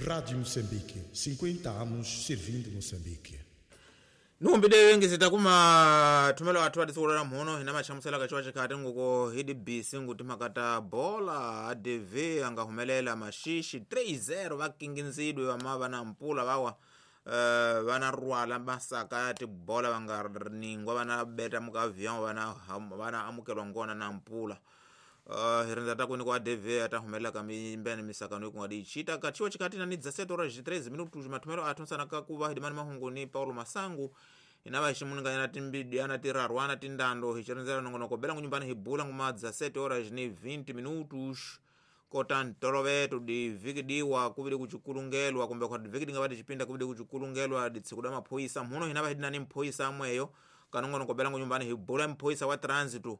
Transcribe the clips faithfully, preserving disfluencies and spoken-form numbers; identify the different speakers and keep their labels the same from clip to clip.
Speaker 1: Rádio Moçambique, cinquenta anos servindo Moçambique.
Speaker 2: Numbide ngisita kuma thumelo athu ati siku mhono hina machamusela kachiwa chikhati nguko hidi bisi nguti makata bola A D V angahumelela mashishi three zero vakinginzidwe vamava na mpula vawa uh, vana rwala masaka ya tibola vanganingwa vana beta mukavyao vana vana amukelwa ngona na mpula. Uh, hirindza ta kwini kwa A D V atahumelela kamimbene misakano ikungadi ichita kachiwa chikati na nidza sete horas treze minutos mathumelo athu nsana kakuva hidimani mahungu ni Paulo Masangu inava ximuninganyana timbidi ana tirarwana tindando hichirindzela nongonoko bela ngunyumbani hibula nguma dezessete horas ni vinte minutos kota ntoloveto di viki diwa kuvili kuchikulungelwa kumbe kwa viki dinga vati chipinda kuvili kuchikulungelwa ditsikuda maphoyisa mhuno hinava hidinani mphoyisa amweyo kanongonoko bela ngunyumbani hibula mphoyisa wa trânsito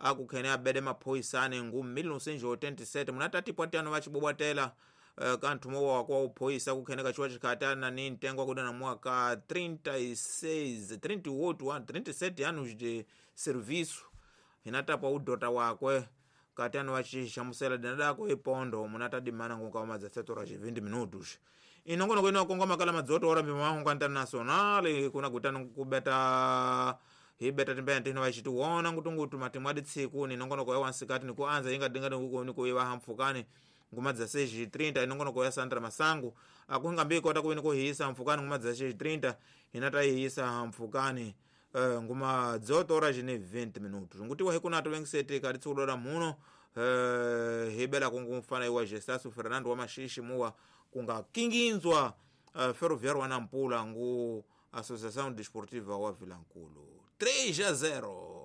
Speaker 2: akukhene abede maphoyisa ane ngu mil novecentos e oitenta e sete munatati pwatiano vachibobwatela uh, kanthumo wa kwa uphoyisa kukhene kachiwa chikhatana ni ntengo akuda na mwaka trinta e seis, trinta e oito, trinta e sete anos de serviço hinatapwa udota wakwe katano vachixamusela dinadako ipondo munatadimana ngunka dezessete horas e vinte minutos inongonoko ino makala madzoto ora mimahungu internacional kuna gutano kubeta hibeta timbene tino vachitiwona ngutungutu matimu aditsiku ninongonoko ya wansikati nikuanza inga dinga nikuiva hamfukani nguma dezesseis e trinta inongonoko ya Sandra Masangu akuhinga mbiko takuvi nikuhiyisa mfukani nguma dezesseis e trinta hinatayihiyisa hamfukani uh, nguma dezoito horas ni vinte minutos ngutiwa hikunato vengisete katitsikulola muno uh, hibela kungumfana iwa Gestaso Fernando wa Mashishi muwa kungakinginzwa uh, ferroviário wa Nampula ngu Associação Desportiva wa Vilankulu três a zero.